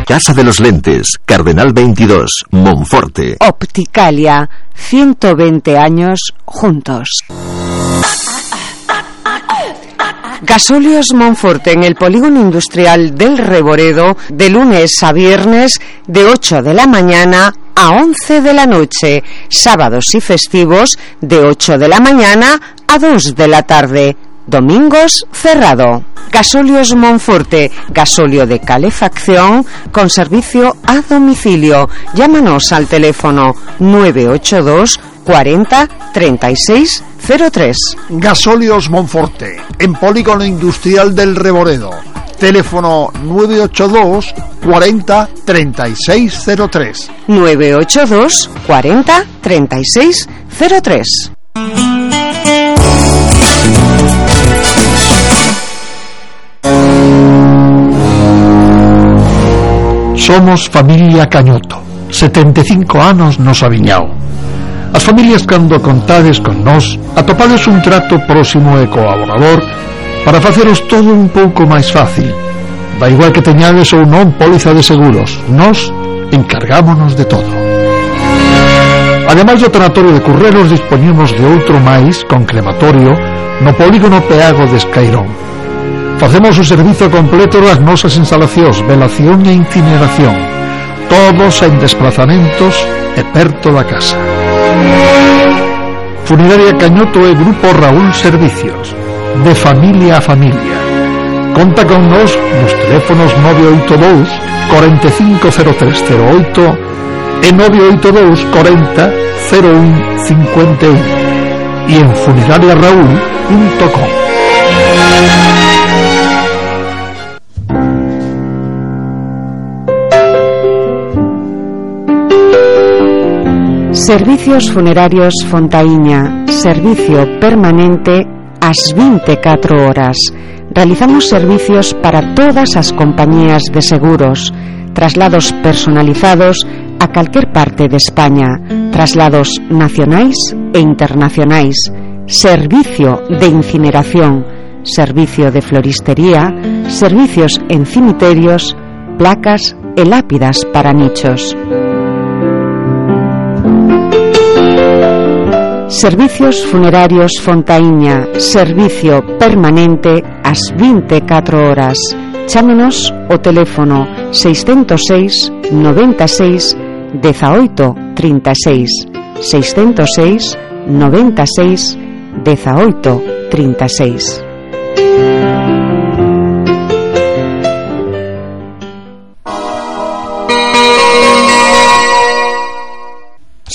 Casa de los Lentes, Cardenal 22, Monforte. Opticalia, 120 años juntos. Gasóleos Monforte en el polígono industrial del Reboredo, de lunes a viernes, de 8 de la mañana a 11 de la noche, sábados y festivos, de 8 de la mañana a 2 de la tarde. Domingos cerrado. Gasóleos Monforte, gasóleo de calefacción con servicio a domicilio. Llámanos al teléfono 982 40 36 03. Gasóleos Monforte, en polígono industrial del Reboredo. Teléfono 982 40 36 03. 982 40 36 03. Somos familia Cañoto, 75 anos nos aviñao. As familias cando contades con nós atopades un trato próximo e colaborador para faceros todo un pouco máis fácil. Da igual que teñades ou non póliza de seguros, nós encargámonos de todo. Ademais do tanatorio de Curreros, dispoñemos de outro máis con crematorio no polígono Peago de Escairón. Facemos o servizo completo das nosas instalacións, velación e incineración, todos en desplazamentos e perto da casa. Funeraria Cañoto e Grupo Raúl Servicios, de familia a familia. Conta con nos nos teléfonos 982 450308 e 982 40 01 51 e en funerariaraúl.com. Servicios Funerarios Fontaíña, servicio permanente ás 24 horas. Realizamos servicios para todas as compañías de seguros, traslados personalizados a calquer parte de España, traslados nacionais e internacionais, servicio de incineración, servicio de floristería, servicios en cimiterios, placas e lápidas para nichos. Servicios Funerarios Fontaíña, servicio permanente ás 24 horas. Chámenos o teléfono 606 96 18 36, 606 96 18 36.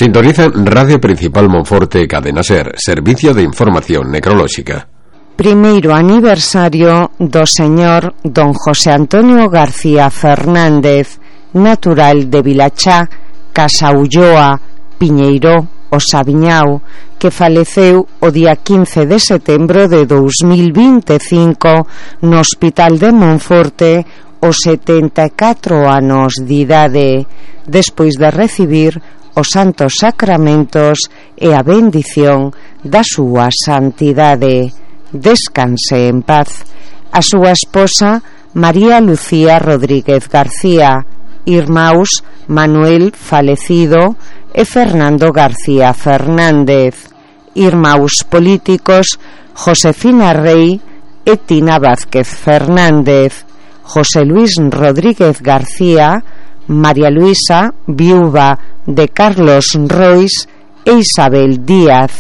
Sintonizan Radio Principal Monforte, Cadena Ser, servicio de información necrolóxica. Primeiro aniversario do señor don José Antonio García Fernández, natural de Vilachá, Casa Ulloa, Piñeiro, o Sabiñao, que faleceu o día 15 de setembro de 2025 no Hospital de Monforte aos 74 anos de idade, despois de recibir os santos sacramentos e a bendición da súa santidade. Descanse en paz. A súa esposa María Lucía Rodríguez García, irmáus Manuel falecido e Fernando García Fernández, irmáus políticos Josefina Rey e Tina Vázquez Fernández, José Luis Rodríguez García, María Luisa, viúva de Carlos Rois e Isabel Díaz,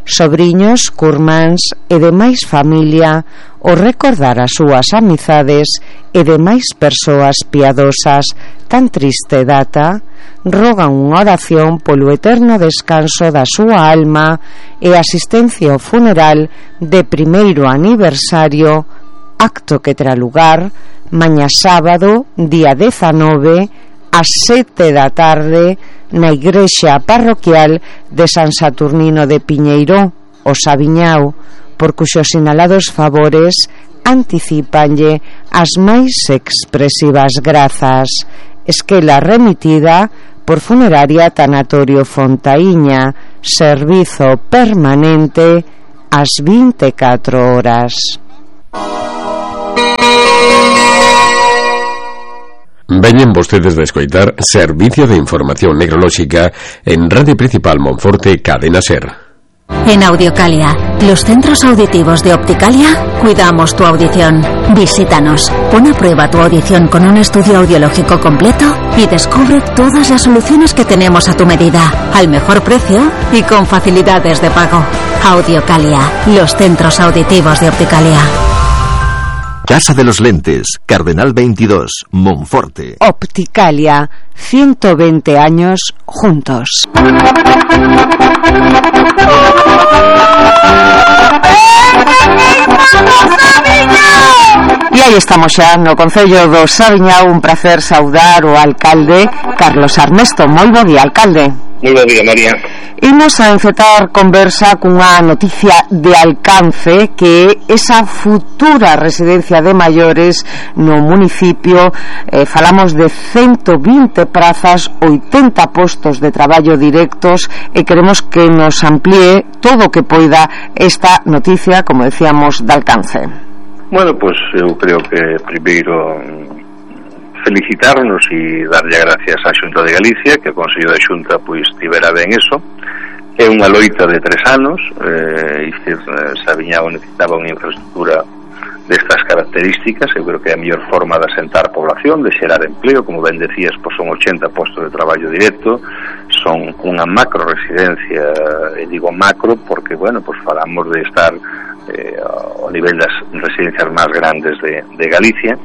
sobriños, curmáns e demais familia, o recordar as súas amizades e demais persoas piadosas tan triste data, rogan unha oración polo eterno descanso da súa alma e asistencia ao funeral de primeiro aniversario, acto que terá lugar mañá sábado, día 19, ás 7 da tarde, na igrexa parroquial de San Saturnino de Piñeiro, o Sabiñao, por cuxos sinalados favores anticipanlle as máis expresivas grazas. Esquela remitida por Funeraria Tanatorio Fontaíña, servizo permanente ás 24 horas. Veñen vostedes de escoitar Servicio de Información Necrolóxica en Radio Principal Monforte, Cadena SER. En Audiocalia, los centros auditivos de Opticalia, cuidamos tu audición. Visítanos, pon a prueba tu audición con un estudio audiológico completo y descubre todas las soluciones que tenemos a tu medida, al mejor precio y con facilidades de pago. Audiocalia, los centros auditivos de Opticalia. Casa de los Lentes, Cardenal 22, Monforte. Opticalia, 120 años juntos. E aí estamos xa no Concello do Saviñao. Un placer saudar o alcalde Carlos Armesto. Moi bo día, alcalde. Moi bo día, María. Imos a encetar conversa cunha noticia de alcance, que é esa futura residencia de maiores no municipio. Falamos de 120 prazas, 80 postos de traballo directos, e queremos que nos amplíe todo o que poida esta noticia, como decíamos, de alcance. Bueno, pues eu creo que primeiro felicitarnos e darlle gracias á Xunta de Galicia, que o Consello da Xunta pois tivera ben eso. É unha loita de 3 anos, Saviñao necesitaba unha infraestructura destas características. Eu creo que é a mellor forma de asentar población, de xerar empleo, como ben decías, pois son 80 postos de traballo directo, son unha macro residencia, e digo macro porque, bueno, pois falamos de estar ao nivel das residencias máis grandes de Galicia,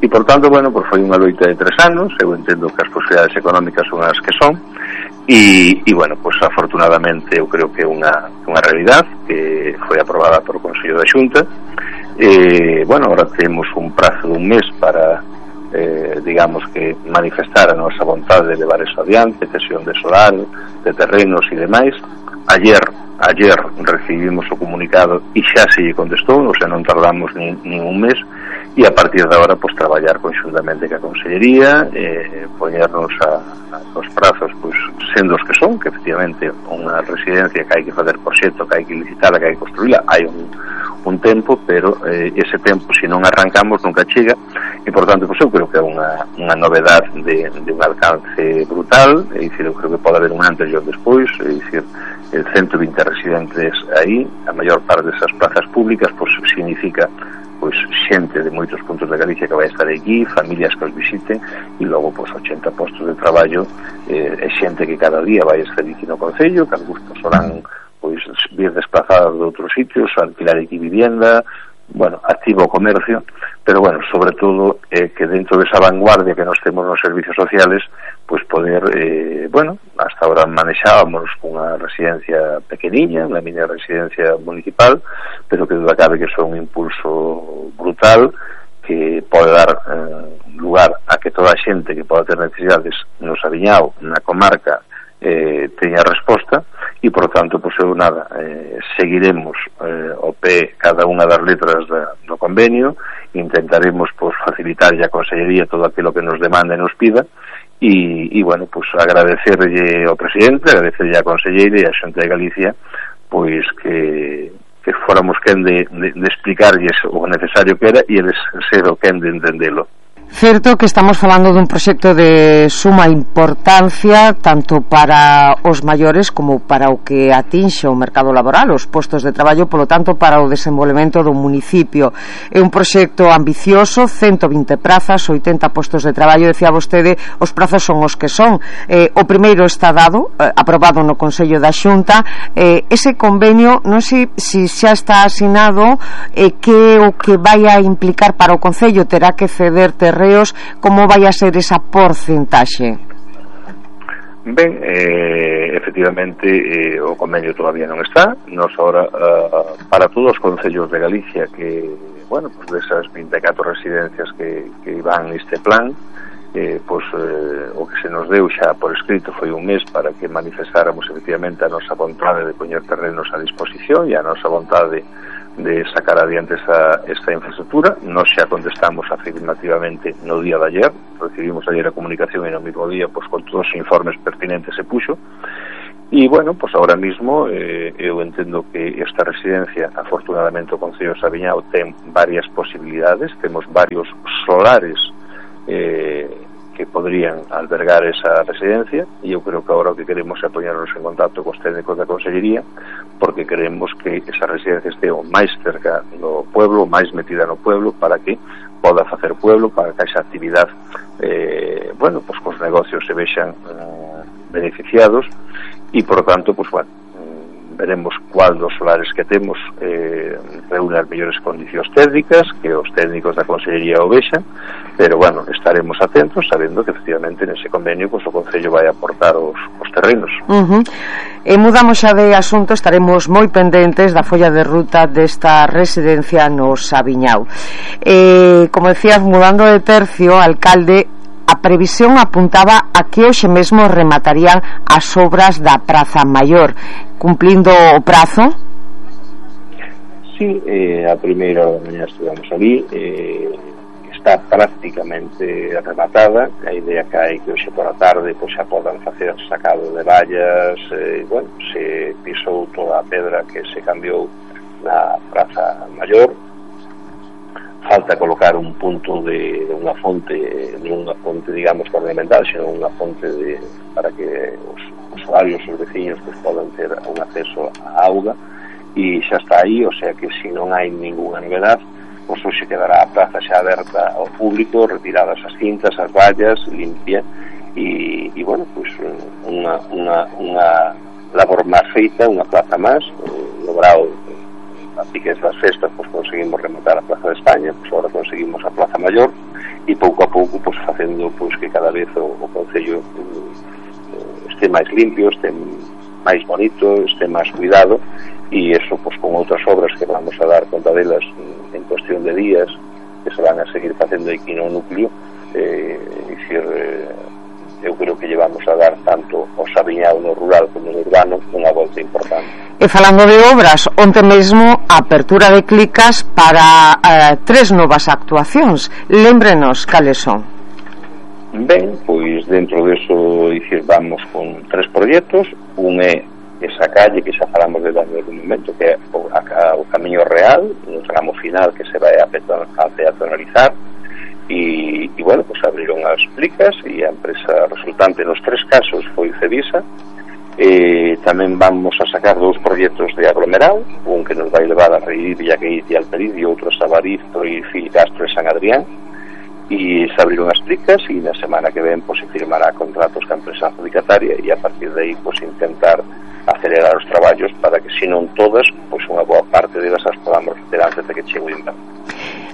e por tanto, bueno, pues foi unha loita de 3 anos. Eu entendo que as posibilidades económicas son as que son, e bueno, pues afortunadamente eu creo que é unha realidade que foi aprobada por o Consello da Xunta. Bueno, ahora temos un prazo de un mes para digamos que manifestar a nosa vontade de levar eso adiante, cesión de solar, de terrenos e demais. Ayer recibimos o comunicado e xa se lle contestou, ou sea, non tardamos nin un mes, e a partir de agora pues traballar conxuntamente ca Consellería, poñernos aos prazos pues sendo os que son, que efectivamente unha residencia que hai que facer proxecto, que hai que licitar, que hai que construíla, hai un tempo, pero ese tempo se non arrancamos nunca chega, e por tanto pues eu creo que é unha novedade de un alcance brutal. É dicir, eu creo que pode haber un antes e un despois, é dicir, 120 residentes aí, a maior parte desas plazas públicas, pois significa pois xente de moitos puntos de Galicia que vai estar aquí, familias que os visiten, e logo pois 80 postos de traballo, e xente que cada día vai estar aquí no Concello, que algúns serán pois vir desplazados de outros sitios, alquilar aquí vivienda, bueno, activo o comercio, pero bueno, sobre todo que dentro desa vanguardia que nos temos nos servicios sociales, pues poder, bueno, hasta ahora manexábamos unha residencia pequeniña, unha mini residencia municipal, pero que duda cabe que son un impulso brutal que pode dar lugar a que toda a xente que poda ter necesidades no Saviñao, na comarca, teña resposta, e por tanto, pois eu nada, seguiremos ao pé cada unha das letras do convenio, intentaremos pois facilitar a Consellería todo aquilo que nos demanda e nos pida, e bueno, pois agradecerlle ao presidente, agradecerlle á Conselleira e á Xunta de Galicia pois que fóramos quen de explicarlles o necesario que era, e eles ser o quen de entendelo. Certo que estamos falando dun proxecto de suma importancia tanto para os maiores como para o que atinxe o mercado laboral, os postos de traballo, polo tanto para o desenvolvemento do municipio. É un proxecto ambicioso, 120 prazas, 80 postos de traballo. Decía vostede, os prazos son os que son. O primeiro está dado, aprobado no Consello da Xunta. Ese convenio, non sei se xa está asinado, que o que vai a implicar para o Concello, terá que ceder terrenos, como vai a ser esa porcentaxe? Ben, efectivamente o convenio todavía non está. Nos ahora, para todos os concellos de Galicia que, bueno, pues desas 24 residencias que van neste plan, pues o que se nos deu xa por escrito foi un mes para que manifestáramos efectivamente a nosa vontade de poñer terrenos a disposición e a nosa vontade de sacar adiante esta infraestructura. Nos xa contestamos afirmativamente no día de ayer, recibimos ayer a comunicación e no mismo día pues con todos os informes pertinentes se puxo, e bueno, pues ahora mismo eu entendo que esta residencia, afortunadamente o Concello de Saviñao ten varias posibilidades, temos varios solares que poderían albergar esa residencia, e eu creo que agora o que queremos é poñernos en contacto cos técnicos da Consellería, porque queremos que esa residencia este o máis cerca do pueblo, máis metida no pueblo, para que poda facer pueblo, para que esa actividade bueno, pues cos negocios se vexan beneficiados, e por tanto, pues bueno, veremos cuál dos solares que temos reúne as mellores condicións técnicas, que os técnicos da Consellería o vexan, pero bueno, estaremos atentos, sabendo que efectivamente nese convenio pues, o Concello vai aportar os terrenos. E mudamos xa de asunto, estaremos moi pendentes da folla de ruta desta residencia no Sabiñao. Como decías, mudando de tercio, alcalde, a previsión apuntaba a que hoxe mesmo rematarían as obras da Praza Maior, cumplindo o prazo? Sí, a primeira hora da mañá estivemos ali, está prácticamente rematada. A idea que hai que hoxe por a tarde pois xa podan facer sacado de vallas, bueno, se pisou toda a pedra que se cambiou na Praza Maior. Falta colocar un punto de unha fonte, digamos, ornamental, sino unha fonte para que os usuarios, os veciños, pues, podan ter un acceso á auga, e xa está aí, o sea que se non hai ninguna novedade, pois hoxe quedará a praza xa aberta ao público, retiradas as cintas, as vallas, limpia, e bueno, pois unha labor máis feita, unha plaza máis, logrado. A piques das festas, pues conseguimos rematar a Plaza de España, pues ahora conseguimos a Plaza Maior, e pouco a pouco pues facendo pues que cada vez o Concello este máis limpio, este máis bonito, este máis cuidado, e eso pues con outras obras que vamos a dar conta delas en cuestión de días, que se van a seguir facendo aquí no núcleo, eu creo que llevamos a dar tanto o Sabiñao no rural como no urbano unha volta importante. E falando de obras, onte mesmo a apertura de Clicas para 3 novas actuacións. Lémbrenos cales son. Ben, pois dentro deso dicir, vamos con 3 proxectos. Un é esa calle que xa falamos de darle un momento, que é o Camiño Real, no tramo final que se vai a peatonalizar. E bueno, pues abriron as Clicas e a empresa resultante nos 3 casos foi Cevisa. Tamén vamos a sacar 2 proxectos de aglomerado, un que nos vai levar a Reir, Villaqueit e Alperiz, e outro a Sabariz, Toril, Castro e San Adrián. E se abriron as Clicas e na semana que ven pues, se firmará contratos ca empresa adjudicataria, e a partir de aí pues, intentar acelerar os traballos para que, se non todas, pues, unha boa parte delas as podamos facer antes de que chegue o inverno.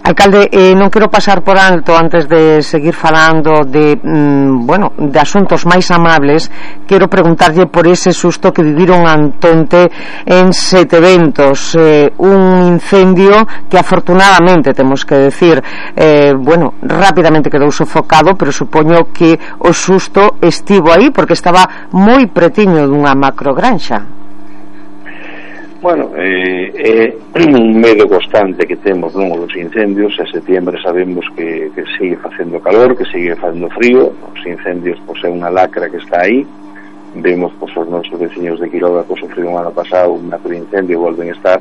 Alcalde, non quero pasar por alto antes de seguir falando de de asuntos máis amables. Quero preguntarlle por ese susto que viviron antonte en Seteventos, un incendio que afortunadamente, temos que decir, rápidamente quedou sofocado, pero supoño que o susto estivo aí porque estaba moi pretiño dunha macrogranxa. Bueno, é un medo constante que temos dos incendios. En setembro sabemos que sigue facendo calor, que sigue facendo frío. Os incendios pois, é unha lacra que está aí. Vemos pois, os nosos veciños de Quiroga que sofriron o ano pasado un macro incendio e volven a estar.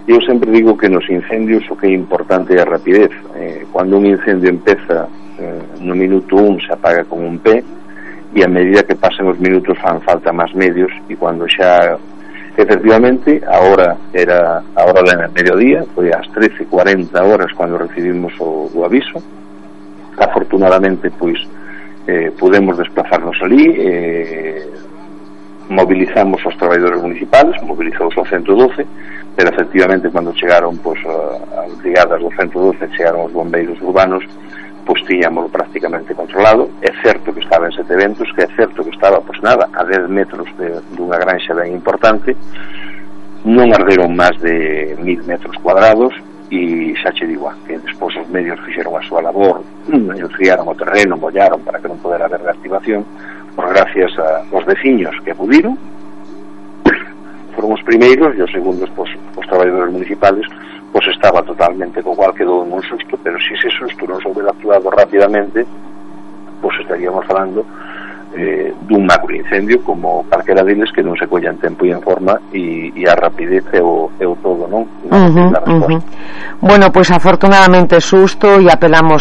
Eu sempre digo que nos incendios o que é importante é a rapidez. Cando un incendio empeza no minuto 1 se apaga con un pé, e a medida que pasen os minutos fan falta máis medios, e cando xa efectivamente a hora era a hora de mediodía, foi ás 13:40 horas cando recibimos o aviso. Afortunadamente pois podemos desplazarnos ali, mobilizamos os traballadores municipales, mobilizouse o 112, pero efectivamente cando chegaron pois as brigadas do 112, chegaron os bombeiros urbanos, pois tiñamos prácticamente controlado. É certo que estaba en Seteventos, que é certo que estaba, pois nada, a 10 metros dunha granxa ben importante. Non arderon máis de 1000 metros cuadrados, e xa che digo que despois os medios fixeron a súa labor, enfriaron o terreno, mollaron para que non podera haber reactivación, por gracias aos veciños que pudiron, foron os primeiros, e os segundos, pois, os traballadores municipales, pois estaba totalmente co cual quedou en un susto, pero se ese susto non se houbera actuado rapidamente, pois estaríamos falando dun macro incendio como calquera deles que non se collan tempo e en forma, e a rapidez é o todo, non? Bueno, pois afortunadamente susto, e apelamos